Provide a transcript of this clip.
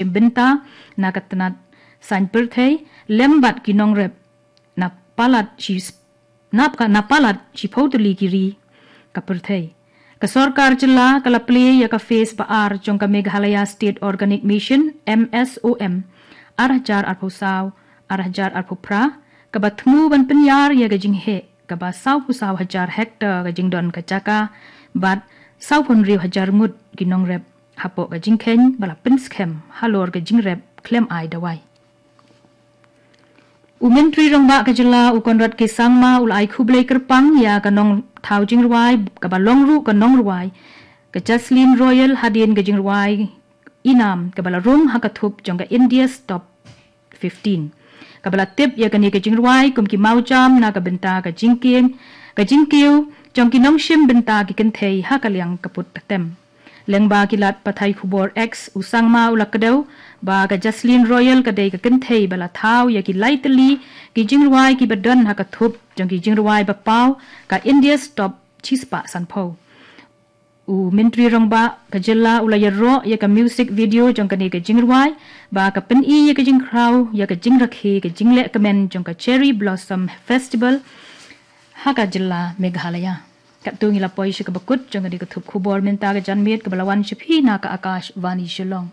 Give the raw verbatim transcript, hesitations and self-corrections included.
bynta na ka tnat saiñ pyrthei lem bad ki nongrep na palat shi na ka na palat shiphew tylli ki ri ka pyrthei. Ka sorkar jylla ka la plie ïa ka phase ba ar jong ka Meghalaya State Organic Mission, M S O M, ar hajar arphew saw, ar hajar arphew phra, kaba thmu ban pynïar ïa ka jingheh kaba sawphew saw hajar hektar ka jingdon ka jaka bad sawphew hynriew hajar ngut ki nongrep hapoh ka jingkheiñ ba la pynskhem halor ka jingrep khlem ai dawai. U Myntri Rangbah ka jylla u Conrad K Sangma u la ai khublei kyrpang ïa ka nongthaw jingrwai kaba long ruh ka nongrwai ka Jaslyn Royal hadien ka jingrwai inam kaba la rung ha ka thup jong ka India's Top fifteen, kaba la tip ïa kane ka jingrwai kum ki mawjam na ka bynta ka jingkieng ka jingkiew jong ki nongshim bynta ki kynthei ha ka liang ka put ka tem. Lyngba ki lad pathai khubor X, u Sangma u la kdew ba ka Jaslyn Royal ka dei ka kynthei ba la thaw ïa ki lai tylli ki jingrwai kiba don ha ka thup jong ki jingrwai ba paw ka India's Top shispah sanphew. U Myntri Rangbah ka jylla u la ïaroh ïa ka music video jong kane ka jingrwai ba ka pyni ïa ka jingkhraw ïa ka jingrakhe ka jingleh kmen jong ka Cherry Blossom Festival ha ka jylla Meghalaya. Katto ngi la poi sha kaba kut jong kane ka thup khubor mynta ka janmiet kaba la wan sha phi na ka Akashvani Shillong.